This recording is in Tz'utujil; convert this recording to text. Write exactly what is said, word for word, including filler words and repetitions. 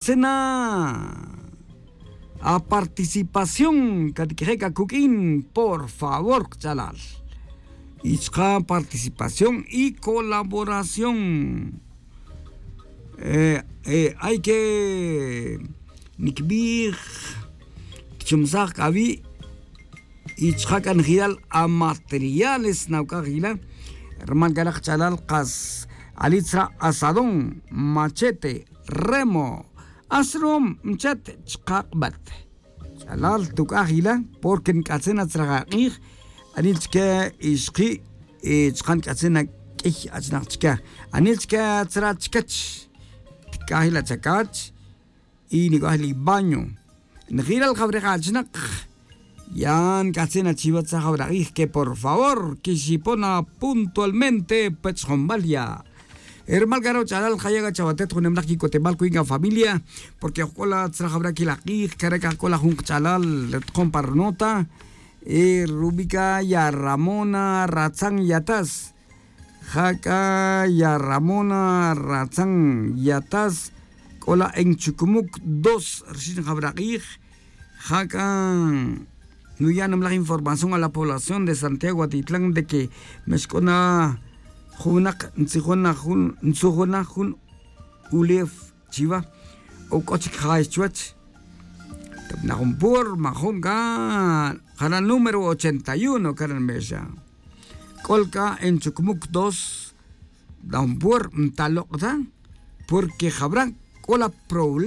Cena a participación catiquije' cacuq'uin por favor kach'alal. Y chka participación y colaboración. Hay que niquibij tichumsaj cavi'. Y chka c'a nijilal a materiales nauc'aj yila. Rumal c'a rak ch'alal kas ali tzra' asadón, machete, remo, asrum, mchet chka k'bat. Ch'alal tuc'aj yila porque nc'atzin a tzra' ak'ij. Anil chique ixki' chka nc'atzin a q'uiy achnak chique. Anil chique tzra' chicach. Tic'aj yila chacach y nic'aj yila baño. Nijilal jawrej achnak. Ya nc'atzin a chiwa tzra' jawrak'ij que por favor quixipon a puntualmente pech junbal ya. Rumal c'a ro' ch'alal jaya' c'a chawatet junem laj quic'otemal cuin a familia. Porque oj c'o la tzra' jawrak'ij la k'ij c'a re c'a oj c'o la jun kach'alal ri tkon pa ri nota. Rubi' c'a ya ramona ratzan yatas. Ja c'a ya ramona ratzan yatas. C'o la en chucumuc dos rixin jawrak'ij. Ja c'a nuya' nimalaj información a la población de santiago atitlán de que mexc'o na jun winak ntzijon na jun ntzujon na jun ulew chiwa. O c'o chic jay chuwech. Tepna jun pur majun c'a jara' número ochenta y uno c'a ri nmexa. C'ol c'a en chucumuc dos. Da jun pur ntalok' ta. Porque jawra c'o la problema.